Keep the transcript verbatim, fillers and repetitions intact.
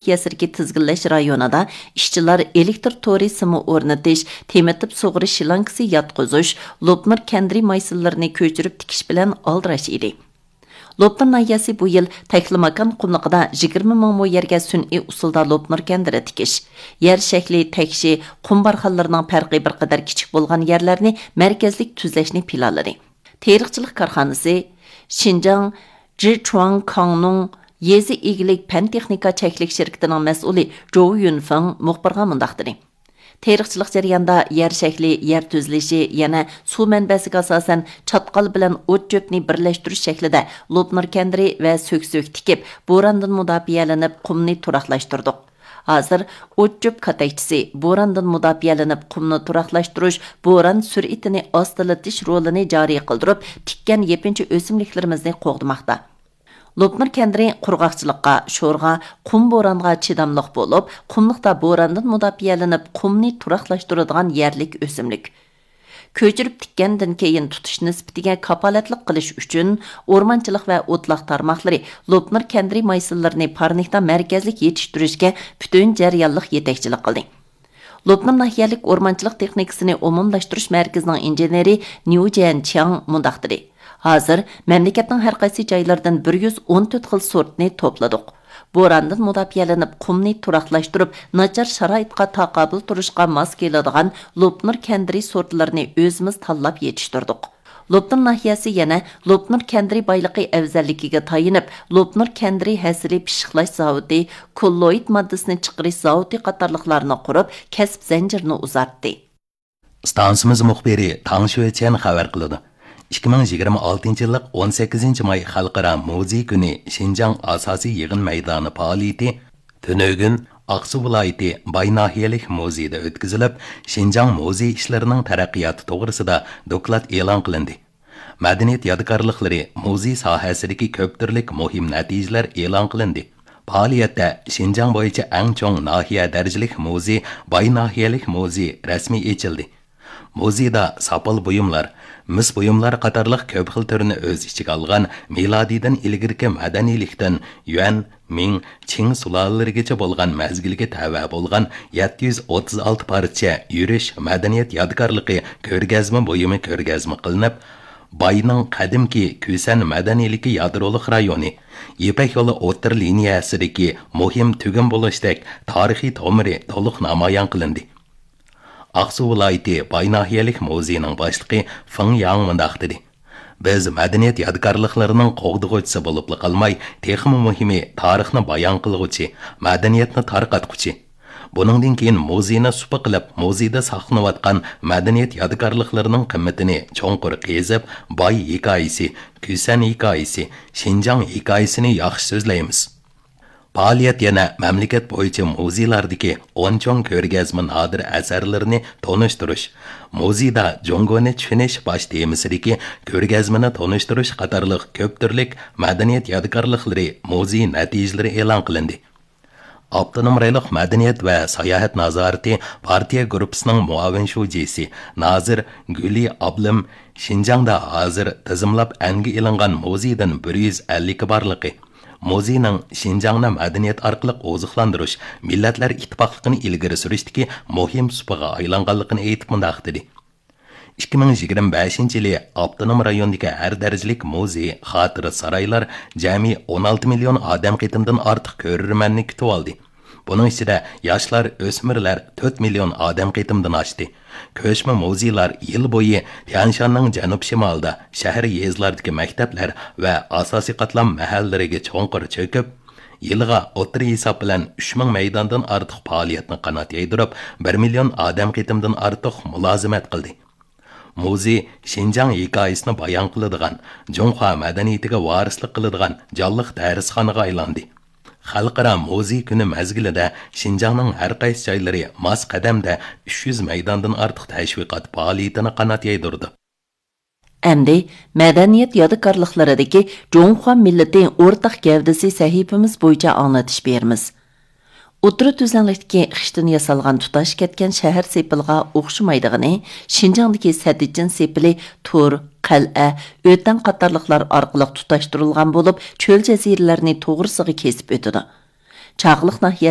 ناھىيەسىدىكى تىزگىنلەش رايونىدا ئىشچىلار ئېلېكتر تورى سىمى ئورنىتىش، تېمىتىپ سۇغىرىش شلانكىسى ياتقۇزۇش، لوپنۇر كەندىرى مايسىلىرىنى كۆچۈرۈپ تىكىش بىلەن ئالدىراش ئىدى. لوپنۇر ناھىيەسى بۇ يىل تەكلىماكان قۇملۇقىدا يىگىرمە مىڭ مو يەرگە سۈنئىي ئۇسۇلدا لوپنۇر كەندىرى تىكىش، يەر شەكلى، تەكشى، قۇم بارخانلىرىنىڭ پەرقى بىر قەدەر كىچىك بولغان يەرلەرنى مەركەزلىك تۈزلەشنى پىلانلىدى. تېرىقچىلىق كارخانىسى شىنجاڭ جىچۇاڭ كاڭنۇڭ يېزا ئىگىلىك پەن تېخنىكا چەكلىك شىركىتىنىڭ مەسئۇلى جوۋ يۈنفېڭ مۇخبىرغا مۇنداق دېدى: تېرىقچىلىق جەريانىدا يەر شەكلى، يەر تۈزۈلۈشى، يەنە سۇ مەنبەسىگە ئاساسەن چاتقال بىلەن ئوت چۆپنى بىرلەشتۈرۈش شەكلىدە لوپنۇر كەندىرى ۋە سۆكسۆك تىكىپ، بوراندىن مۇداپىئەلىنىپ قۇمنى تۇراقلاشتۇردۇق. ھازىر ئوت چۆپ كاتەكچىسى، بوراندىن مۇداپىئەلىنىپ قۇمنى تۇراقلاشتۇرۇش، بوران سۈرئىتىنى ئاستىلىتىش رولىنى جارى قىلدۇرۇپ، تىككەن يېپىنچا ئۆسۈملۈكلىرىمىزنى قوغدىماقتا. لوپنۇر كەندىرى قۇرغاقچىلىققا، شورغا، قۇم بورانغا چىداملىق بولۇپ، قۇملۇقتا بوراندىن مۇداپىئەلىنىپ، قۇمنى تۇراقلاشتۇرىدىغان يەرلىك ئۆسۈملۈك. كۆچۈرۈپ تىككەندىن كېيىن تۇتۇش نىسبىتىگە كاپالەتلىك قىلىش ئۈچۈن، ئورمانچىلىق ۋە ئوتلاق تارماقلىرى لوپنۇر كەندىرى مايسىلىرىنى پارنىكتا مەركەزلىك يېتىشتۈرۈشكە پۈتۈن جەريانلىق يېتەكچىلىك قىلدى. لوپنۇر ناھىيەلىك ئورمانچىلىق تېخنىكىسىنى ئومۇملاشتۇرۇش مەركىزىنىڭ ئىنژېنېرى نيۇ جيەنچياڭ مۇنداق دېدى: ھازىر مەملىكەتنىڭ ھەر قايسى جايلىرىدىن بىر يۈز ئون تۆت خىل سورتنى توپلىدۇق. بوراندىن مۇداپىئەلىنىپ، قۇمنى تۇراقلاشتۇرۇپ، ناچار شارائىتقا تاقابىل تۇرۇشقا ماس كېلىدىغان لوپنۇر كەندىرى سورتلىرىنى ئۆزىمىز تاللاپ يېتىشتۈردۇق. لوپنۇر ناھىيەسى يەنە لوپنۇر كەندىرى بايلىقى ئەۋزەللىكىگە تايىنىپ، لوپنۇر كەندىرى ھەسىلى پىششىقلاش زاۋۇتى، كوللوئىد ماددىسىنى چىقىرىش زاۋۇتى قاتارلىقلارنى قۇرۇپ، كەسىپ زەنجىرىنى ئۇزارتتى. ئىستانسىمىز مۇخبىرى تاڭ شۆچيەن خەۋەر قىلىدۇ. ئىككى مىڭ يىگىرمە ئالتىنچى يىللىق ئون سەككىزىنچى ماي خەلقئارا مۇزېي كۈنى شىنجاڭ ئاساسىي يىغىن مەيدانى پائالىيىتى تۈنۈگۈن ئاقسۇ ۋىلايىتى باي ناھىيەلىك مۇزېيدا ئۆتكۈزۈلۈپ، شىنجاڭ مۇزېي ئىشلىرىنىڭ تەرەققىياتى توغرىسىدا دوكلات ئېلان قىلىندى. مەدەنىيەت يادىكارلىقلىرى، مۇزېي ساھەسىدىكى كۆپ تۈرلۈك مۇھىم نەتىجىلەر ئېلان قىلىندى. پائالىيەتتە شىنجاڭ بويىچە ئەڭ چوڭ ناھىيە دەرىجىلىك مۇزېي، باي ناھىيەلىك مۇزېي رەسمىي ئېچىلدى. مۇزېيدا ساپال بۇيۇملار، مىس بۇيۇملار قاتارلىق كۆپ خىل تۈرنى ئۆز ئىچىگە ئالغان مىلادىيدىن ئىلگىرىكى مەدەنىيلىكتىن يۈەن، مىڭ، چىڭ سۇلالىلىرىگىچە بولغان مەزگىلگە تەۋە بولغان يەتتە يۈز ئوتتۇز ئالتە پارچە يۈرۈش مەدەنىيەت يادىكارلىقى كۆرگەزمە بۇيۇمى كۆرگەزمە قىلىنىپ، باينىڭ قەدىمكى كۈسەن مەدەنىيلىكى يادرولۇق رايونى، يىپەك يولى ئوتتۇرا لىنىيەسىدىكى مۇھىم تۈگۈن بولۇشتەك تارىخىي تومۇرى تولۇق نامايان قىلىندى. ئاقسۇ ۋىلايىتى باي ناھىيەلىك مۇزېيىنىڭ باشلىقى فېڭ ياڭ مۇنداق دېدى: بىز مەدەنىيەت يادىكارلىقلىرىنىڭ قوغدىغۇچىسى بولۇپلا قالماي، تېخىمۇ مۇھىمى، تارىخنى بايان قىلغۇچى، مەدەنىيەتنى تارقاتقۇچى. بۇنىڭدىن كېيىن مۇزېينى سۇپا قىلىپ، مۇزېيدا ساقلىنىۋاتقان مەدەنىيەت يادىكارلىقلىرىنىڭ قىممىتىنى چوڭقۇر قېزىپ، باي ھېكايىسى، كۈسەن ھېكايىسى، شىنجاڭ ھېكايىسىنى ياخشى سۆزلەيمىز. پائالىيەت يەنە مەملىكەت بويىچە مۇزېيلاردىكى ئون چوڭ كۆرگەزمە نادىر ئەسەرلىرىنى تونۇشتۇرۇش، مۇزېيدا جۇڭگونى چۈشىنىش باش تېمىسىدىكى كۆرگەزمىنى تونۇشتۇرۇش قاتارلىق كۆپ تۈرلۈك مەدەنىيەت يادىكارلىقلىرى، مۇزېي نەتىجىلىرى ئېلان قىلىندى. ئاپتونوم رايونلۇق مەدەنىيەت ۋە ساياھەت نازارىتى پارتىيە گۇرۇپپىسىنىڭ مۇئاۋىن شۇجىسى نازىر گۈلى ئابلىم شىنجاڭدا ھازىر تىزىملاپ ئەنگە ئېلىنغان مۇزېيدىن بىر يۈز ئەللىكى بارلىقى، مۇزېينىڭ شىنجاڭنى مەدەنىيەت ئارقىلىق ئوزۇقلاندۇرۇش، مىللەتلەر ئىتتىپاقلىقىنى ئىلگىرى سۈرۈشتىكى مۇھىم سۇپىغا ئايلانغانلىقىنى ئېيتىپ مۇنداق دېدى: ئىككى مىڭ يىگىرمە بەشىنچى يىلى ئاپتونوم رايوندىكى ھەر دەرىجىلىك مۇزېي، خاتىرە سارايلار جەمئىي ئون ئالتە مىليون ئادەم قېتىمدىن ئارتۇق كۆرۈرمەننى كۈتۈۋالدى. بۇنىڭ ئىچىدە ياشلار، ئۆسمۈرلەر تۆت مىليون ئادەم قېتىمدىن ئاشتى. كۆچمە مۇزېيلار يىل بويى تيەنشاننىڭ جەنۇب شىمالىدا، شەھەر، يېزىلاردىكى مەكتەپلەر ۋە ئاساسىي قاتلام مەھەللىلىرىگە چوڭقۇر چۆكۈپ، يىلىغا ئوتتۇرا ھېساب بىلەن ئۈچ مىڭ مەيداندىن ئارتۇق پائالىيەتنى قانات يايدۇرۇپ، بىر مىليون ئادەم قېتىمدىن ئارتۇق مۇلازىمەت قىلدى. مۇزېي شىنجاڭ ھېكايىسىنى بايان قىلىدىغان، جۇڭخۇا مەدەنىيىتىگە ۋارىسلىق قىلىدىغان جانلىق دەرسخانىغا ئايلاندى. خەلقئارا مۇزېي كۈنى مەزگىلىدە شىنجاڭنىڭ ھەر قايسى جايلىرى ماس قەدەمدە ئۈچ يۈز مەيداندىن ئارتۇق تەشۋىقات پائالىيىتىنى قانات يايدۇرىدۇ. ئەمدى مەدەنىيەت يادىكارلىقلىرىدىكى جۇڭخۇا مىللىتى ئورتاق گەۋدىسى سەھىپىمىز بويىچە ئاڭلىتىش بېرىمىز. ئوتتۇرا تۈزلەڭلىكتىكى خىشتىن ياسالغان تۇتاش كەتكەن شەھەر سېپىلىغا ئوخشىمايدىغىنى، شىنجاڭدىكى سەددىچىن سېپىلى تور، قەلئە، ئۆتەڭ قاتارلىقلار ئارقىلىق تۇتاشتۇرۇلغان بولۇپ، چۆل جەزىرىلەرنى توغرىسىغا كېسىپ ئۆتىدۇ. چاغلىق ناھىيەسى